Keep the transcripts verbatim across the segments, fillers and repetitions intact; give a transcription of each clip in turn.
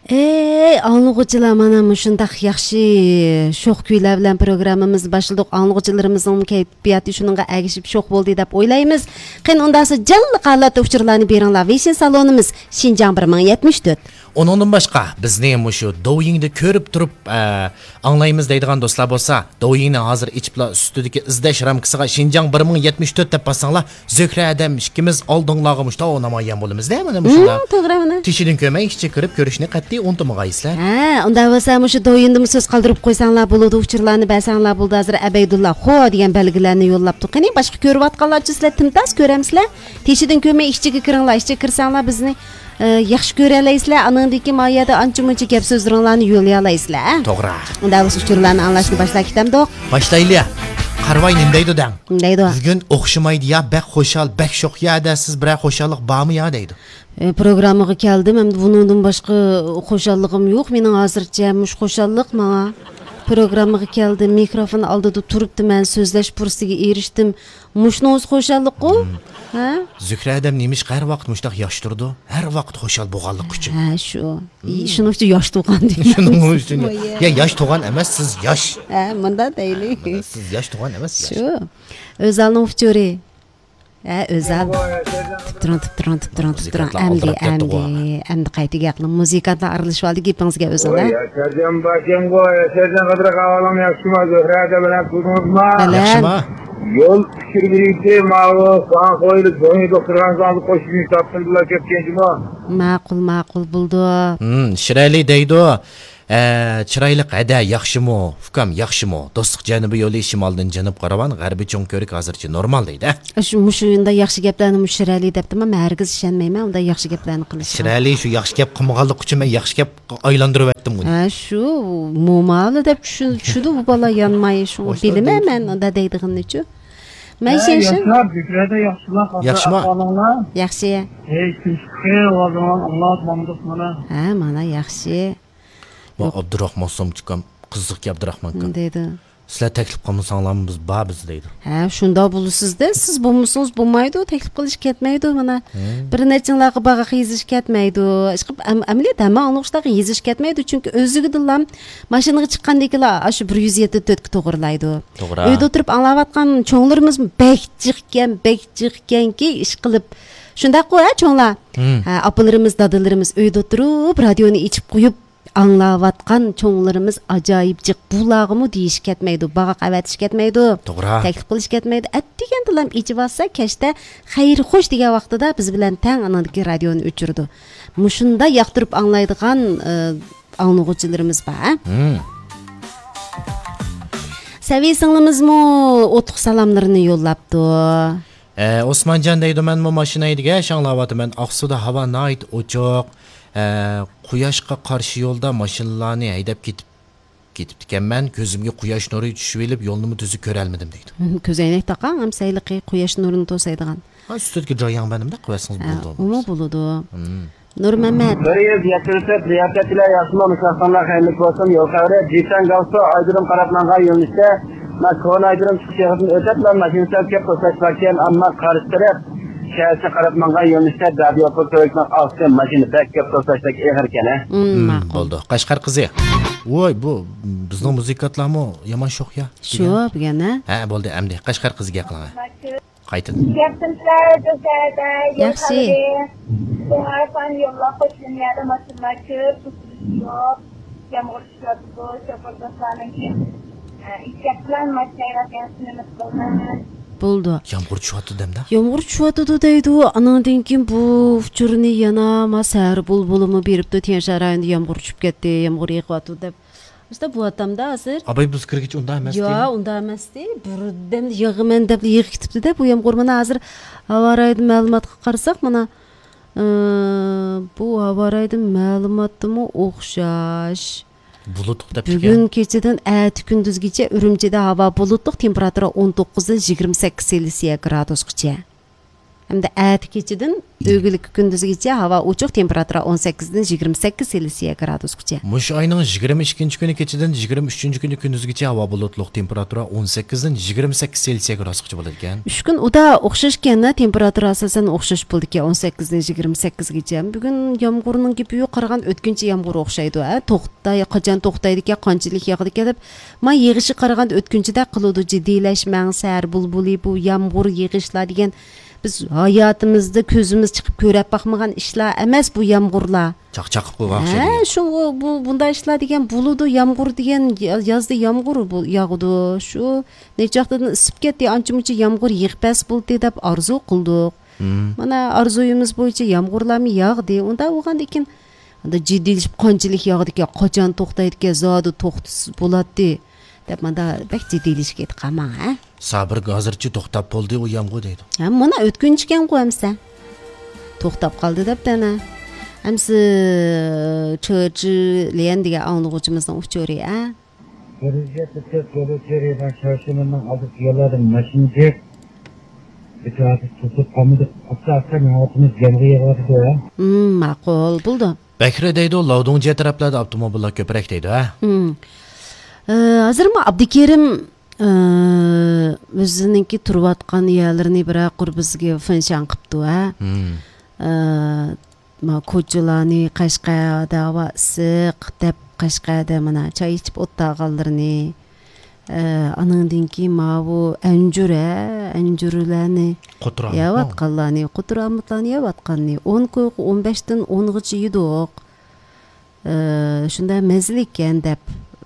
ئەي ئاڭلىغۇچىلار، مانا مۇشۇنداق ياخشى شوخ كۈيلەر بىلەن پروگراممىمىزنى باشلىدۇق. ئاڭلىغۇچىلىرىمىزنىڭ كەيپىياتى شۇنىڭغا ئەگىشىپ شوخ بولدى دەپ ئويلايمىز. قېنى ئۇنداقسا جانلىق ھالەتتە ئۇچۇرلارنى بېرىڭلار. ۋېيشىن سالونىمىز شىنجاڭ بىر مىڭ يەتمىش تۆت. ئۇنىڭدىن باشقا بىزنى مۇشۇ دوۋيىڭدا كۆرۈپ تۇرۇپ، ئە، ئاڭلايمىز دەيدىغان دوستلار بولسا، دوۋيىڭنى ھازىر ئېچىپلا ئۈستىدىكى ئىزدەش رامكىسىغا شىنجاڭ بىر مىڭ يەتمىش تۆت دەپ باسساڭلار، زۆھرە ھەدەم ئىككىمىز ئالدىڭلارغا مۇشتاق نامايان بولىمىز-دە، مانا مۇشۇنداق. ھىم، توغرا، مانا. تېشىدىن كۆرمەي ئىچىگە كىرىپ كۆرۈشنى قەتئىي ئۇنتۇمىغايسىلەر. ھە، ئۇنداق بولسا مۇشۇ دوۋيىندىمۇ سۆز قالدۇرۇپ قويساڭلار بولىدۇ، ئۇچۇرلارنى بەرسەڭلار بولىدۇ. ھازىر ئەبەيدۇللا خو دېگەن بەلگىلەرنى يوللاپتۇ. قېنى، باشقا كۆرۈۋاتقانلارچۇ سىلەر تىمتاس كۆرەمسىلەر؟ تېشىدىن كۆرمەي ئىچىگە كىرىڭلار، ئىچىگە كىرسەڭلار بىزنى ئە، ياخشى كۆرەلەيسىلەر، ئانىڭدىن كېيىن ما يەردە ئانچە-مۇنچە گەپ سۆزلىرىڭلارنى يوللىيالايسىلەر، ھە؟ توغرا. ئۇنداق بولسا ئۇچۇرلارنى ئاڭلاشنى باشلاۋېتەمدۇق؟ باشلايلى. قارىۋاي نېمە دەيدۇ دەڭ. نېمە دەيدۇ؟ بۈگۈن ئوخشىمايدۇ يا، بەك خۇشال، بەك شوخ يا دە، سىز بىرەر خۇشاللىق بارمۇ يا دەيدۇ. ئە، پروگراممىغا كەلدىم، ئەمدى بۇنىڭدىن باشقا خۇشاللىقىم يوق مېنىڭ ھازىرچە، مۇشۇ خۇشاللىق ماڭا. پروگراممىغا كەلدىم، مىكروفون ئالدىدا تۇرۇپتىمەن، سۆزلەش پۇرسىتىگە ئېرىشتىم. مۇشۇنىڭ ئۆزى خۇشاللىققۇ؟ ھە؟ زۆھرە ھەدەم نېمىشقا ھەر ۋاقىت مۇشۇنداق ياش تۇرىدۇ؟ ھەر ۋاقىت خۇشال بولغانلىقى ئۈچۈن. ھە، شۇ. شۇنىڭ ئۈچۈن ياش تۇغان دېگەن. شۇنىڭ ئۈچۈن. يا، ياش تۇغان ئەمەس، سىز ياش. ھە، مۇنداق دەيلى. مانا سىز ياش تۇغان ئەمەس، ياش. شۇ. ئۆزەلنىڭ ئۇچۇرى. ھە، ئۆزەل. تۇرۇپ تۇرۇڭ، تۇرۇپ تۇرۇڭ، تۇرۇپ تۇرۇڭ، تۇرۇپ تۇرۇڭ. مۇزىكانتلار ئەمدى، ئالدىراپ كەتتىغۇ. ئەمدى، ئەمدى قايتا گەپ قىلىڭ. مۇزىكانتلار ئارىلىشىۋالدى گېپىڭىزگە ئۆزەل، ھە؟ ۋاي، ياشارجان باشىڭغۇ، ياشارجان قىدىر ئەھۋالىڭ ياخشىما؟ زۆھرە ھەدە بىلەن تۇردىڭىزما؟ بەلەن. ياخشىما؟ يول ئۇچۇر بېرىشى ماۋۇ ساڭخويلۇ جوڭيى دوختۇرخانىسىغا قوشۇلۇپ تاپتىم بىلەن كەتكەنچىمۇ؟ ماقۇل، ماقۇل بولدى. ھىم، شىرئەلى دەيدۇ. ئە، چىرايلىق ھەدە ياخشىمۇ؟ ئۇكام ياخشىمۇ؟ دوستلۇق جەنۇبىي يولى شىمالدىن جەنۇبقا راۋان، غەربىي چوڭ كۆۋرۈك ھازىرچە نورمال دەيدۇ. شۇ، مۇشۇ ئۇنداق ياخشى گەپلەرنى مۇشۇ شىرئەلى دەپتىما، مەن ھەرگىز ئىشەنمەيمەن ئۇنداق ياخشى گەپلەرنى قىلىشىغا. شىرئەلى شۇ ياخشى گەپ قىلمىغانلىقى ئۈچۈن مەن ياخشى گەپ ئايلاندۇرۇۋەتتىم ئۇنى. ھە، شۇ مومالا دەپ چۈشىدۇ بۇ بالا يانماي، شۇ بىلىمەن مەن ئۇنداق دەيدىغىنىنىچۇ. مەن ھە، ياشلار، زۆھرەدە ياخشىلار، ھازىر ياخشىما؟ ئەھۋالىڭلار؟ ياخشى. ھەي، تىنچلىقى، ھازىر ئاڭلاپ ماڭدۇق مانا. ھە، مانا ياخشى. ۋا ئابدۇراخمان سومچۇكام، قىزىقكەن ئابدۇراخمانكام. دەيدۇ. سىلەر تەكلىپ قىلمىساڭلارمۇ بىز بار بىز دەيدۇ. ھە، شۇنداق بولىسىز-دە، سىز بولمىسىڭىز بولمايدۇ، تەكلىپ قىلىش كەتمەيدۇ مانا. بىر نەچچىڭلارغا باغاق يېزىش كەتمەيدۇ. ئىشقىلىپ، ئەم-، ئەمەلىيەتتە ھەممە ئاڭلىغۇچىلارغا يېزىش كەتمەيدۇ، چۈنكى ئۆزلۈكىدىنلا ماشىنىغا چىققاندىن كېيىنلا ئاشۇ بىر يۈز يەتتە تۆتكە توغرىلايدۇ. توغرا. ئۆيدە ئولتۇرۇپ ئاڭلاۋاتقان چوڭلىرىمىز بەك جىقكەن، بەك جىقكەنكى، ئىشقىلىپ. شۇنداققۇ، ھە، چوڭلار؟ ھە، ئاپىلىرىمىز، دادىلىرىمىز ئۆيدە ئولتۇرۇپ، رادىيونى ئېچىپ قويۇپ، ئاڭلاۋاتقان چوڭلىرىمىز ئاجايىپ جىق، بۇلارغىمۇ دېيىش كەتمەيدۇ، باغاق ئەۋەتىش كەتمەيدۇ، توغرا. تەكلىپ قىلىش كەتمەيدۇ. ئەتىگەندىلا ئېچىۋالسا، كەچتە خەير خوش دېگەن ۋاقتىدا بىز بىلەن تەڭ ئانىڭدىكى رادىيونى ئۆچۈرىدۇ. مۇشۇنداق ياقتۇرۇپ ئاڭلايدىغان، ئى، ئاڭلىغۇچىلىرىمىز بار، ھە؟ سەۋىي سىڭلىمىزمۇ ئوتلۇق سالاملىرىنى يوللاپتۇ. ئە، ئوسمانجان دەيدۇ، مەنمۇ ماشىنا ھەيدىگەچ ئاڭلاۋاتىمەن. ئاقسۇدا ھاۋا ناھايىتى ئوچۇق. ئە، قۇياشقا قارشى يولدا ماشىنىلارنى ھەيدەپ كېتىپ، كېتىپتىكەنمەن. كۆزۈمگە قۇياش نۇرى چۈشۈۋېلىپ، يولنىمۇ تۈزۈك كۆرەلمىدىم دەيدۇ. كۆزەينەك تاقاڭ، ھەم سەيلىقى قۇياش نۇرىنى توسايدىغان. ھا، ئۈستىدىكى جاياڭ بەرنىمدە قويسىڭىز ھە، بولىدۇ. ئۇمۇ بولىدۇ. نۇرمەمەت. بىر يۈز يەتتە تۆت رىياسەتچىلەر ياخشىمۇ؟ مۇشۇ ۋاقىتلاردا خەيرلىك بولسۇن. يول خەۋىرى، جىسەن گاۋسۇ ئايرودروم قاراپ ماڭغان يۆنىلىشتە، مانا كونا ئايرودروم چىقىش يېرىدىن ئۆتەپلا ماشىنا سەل كۆپ توساش باركەن، ئەمما قارشى تەرەپ شەھەرچە قاراپ ماڭغان يۆنىلىشتە دادىيوپۇل كۆۋرۈكنىڭ ئاستى ماشىنا بەك كۆپ توساشتەك ئېغىر ئىكەن، ھە؟ مم، مم، ماقۇل. بولدى. قەشقەر قىزى. ۋوي، بۇ بىزنىڭ مۇزىكانتلارمۇ يامان شوخ يا. شۇ، بۈگۈن، ھە؟ ھە، بولدى، ئەمدى قەشقەر قىزىگە قىلىڭ. قايتىدىن. گەپتىن سەل بىر سەدە يول ياخشى. خەۋىرى. شوڭايخان يوللار قوش لىنىيەدە ماشىنىلار كۆپ، توسۇلۇش يوق. يامغۇر چۈشۈۋاتىدۇ، شوپۇر دوستلارنىڭكى، ئە، ئېھتىيات بىلەن ماشىنا ھەيدەپ يەڭسىنىمىز قىلىمىز. بولدى. يامغۇر چۈشۈۋاتىدۇ دەمدە؟ يامغۇر چۈشۈۋاتىدۇ دەيدۇ، ئانىڭدىن كېيىن بۇ ئۇچۇرنى يەنە ما سەھەر بۇلبۇلىمۇ بېرىپتۇ، تيەنشان رايونىدا يامغۇر چۈشۈپ كەتتى، يامغۇر يېغىۋاتىدۇ دەپ. ئاشۇنداق بولۇۋاتامدا ھازىر. ئاباي بىز كىرگىچە ئۇنداق ئەمەستى. يا، ئۇنداق ئەمەستى. بىردەمدە يېغىمەن دەپلا يېغىپ كېتىپتۇ-دە بۇ يامغۇر. مانا ھازىر ھاۋا رايىدىن مەلۇماتقا قارىساق، مانا، ئى، بۇ ھاۋا رايىدىن مەلۇماتتىمۇ ئوخشاش. بۇلۇتلۇق دەپتىكەن. بۈگۈن كېچىدىن ئەتە كۈندۈزگىچە ئۈرۈمچىدە ھاۋا بۇلۇتلۇق، تېمپېراتۇرا ئون توققۇزدىن يىگىرمە سەككىز سېلسىيە گرادۇسقىچە. ھەمدە ئەتە كېچىدىن ئۆگۈنكى كۈندۈزگىچە ھاۋا ئوچۇق، تېمپېراتۇرا ئون سەككىزدىن يىگىرمە سەككىز سېلسىيە گرادۇسقىچە. مۇشۇ ئاينىڭ يىگىرمە ئىككىنچى كۈنى كېچىدىن يىگىرمە ئۈچىنچى كۈنى كۈندۈزگىچە ھاۋا بۇلۇتلۇق، تېمپېراتۇرا ئون سەككىزدىن يىگىرمە سەككىز سېلسىيە گرادۇسقىچە بولىدىكەن. ئۈچ كۈن ئۇدا ئوخشاشكەن، تېمپېراتۇرا ئاساسەن ئوخشاش بولىدىكەن، ئون سەككىزدىن يىگىرمە سەككىزگىچە. بۈگۈن يامغۇرنىڭ گېپى يوق، قارىغان ئۆتكۈنچى يامغۇر ئوخشايدۇ، ھە؟ توختاي، قاچان توختايدىكەن، قانچىلىك ياغىدىكەن دەپ. ما يېغىشى قارىغاندا ئۆتكۈنچىدەك قىلىدۇ، جىددىيلەشمەڭ، سەھەر بۇلبۇلى، بۇ يامغۇر، يېغىشلار دېگەن. بىز ھاياتىمىزدا كۆزىمىز چىقىپ كۆرۈپ باقمىغان ئىشلار ئەمەس بۇ يامغۇرلار. چاقچاق قىلىپ قويغان ئوخشايدۇ. ھە، شۇ، بۇ، بۇنداق ئىشلار دېگەن بولىدۇ، يامغۇر دېگەن، يا-، يازدا يامغۇر بۇ، ياغىدۇ. شۇ نەچچە ۋاقىتتىن ئىسسىپ كەتتى، ئانچە-مۇنچە يامغۇر يېغىپ بەرسە بولدى دەپ ئارزۇ قىلدۇق. مم. مانا ئارزۇيىمىز بويىچە يامغۇرلارمۇ ياغدى. ئۇنداق بولغاندىكىن، ئاندا جىددىيلىشىپ، قانچىلىك ياغدىكەن، قاچان توختايدىكەن، زادى توختىسا بولاتتى دەپ، ماندا بەك جىددىيلىشىپ كېتىپ قالماڭ، ھە؟ سابىر، ھازىرچە توختاپ بولدى ئۇ يامغۇر دەيدۇ. ھە، مانا ئۆتكۈنچىكەنغۇ ئەمسە. توختاپ قالدى دەپتۇ ئەنە. ئەمسە چېچىليەن دېگەن ئاڭلىغۇچىمىزنىڭ ئۇچۇرى، ھە؟ 这个这这个这里边小区门能熬得起来的没心结，这个是是他们的啥啥年我他们讲的也我这个。 ھىم، ماقۇل، بولدى. بەكرى دەيدۇ، لاۋدۇڭجيې تەرەپلەردە ئاپتوموبىللار كۆپرەك دەيدۇ، ھە؟ ھىم. ئە، ھازىرمۇ ئابدۇكېرىم، ئە، ئۆزىنىڭكى تۇرۇۋاتقان يەرلىرىنى بىرەر قۇر بىزگە فېنشان قىپتۇ، ھە؟ ھىم. ئە، ما كوچىلارنى، قەشقەردە ھاۋا ئىسسىق دەپ، قەشقەردە مانا چاي ئىچىپ ئولتۇرغانلىرىنى، ئە، ئانىڭدىن كېيىن ماۋۇ ئەنجۈر، ھە، ئەنجۈرلەرنى قوتۇر ئامۇتمۇ؟ يەۋاتقانلارنى، قوتۇر ئامۇتلارنى يەۋاتقاننى، ئون كويغا ئون بەشتىن ئونغىچە يېدۇق. ئە، شۇنداق مەززىلىككەن دەپ،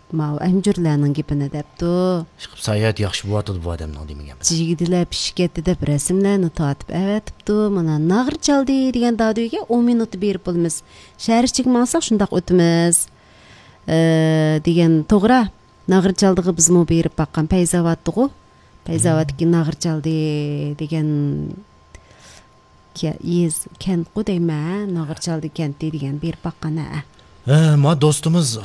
ماۋۇ ئەنجۈرلەرنىڭ گېپىنى دەپتۇ. ئىشقىلىپ ساياھەت ياخشى بولۇۋاتىدۇ بۇ ئادەمنىڭ دېمىگەن. جىگدىلەر پىشىپ كەتتى دەپ رەسىملەرنى تارتىپ ئەۋەتىپتۇ. مانا ناغرا چالدى دېگەن دادۈيگە ئون مىنۇتتا بېرىپ بولىمىز. شەھەر ئىچىگە ماڭساق شۇنداق ئۆتىمىز. ئە، دېگەن توغرا. ناغرا چالدىغا بىزمۇ بېرىپ باققان، پەيزاۋاتتىغۇ. پەيزاۋاتتىكى ناغرا چالدى دېگەن كە-، يېز، كەنتقۇ دەيمەن، ھە؟ ناغرا چالدى كەنتى دېگەن بېرىپ باققان، ھە. ھە، ما دوستىمىز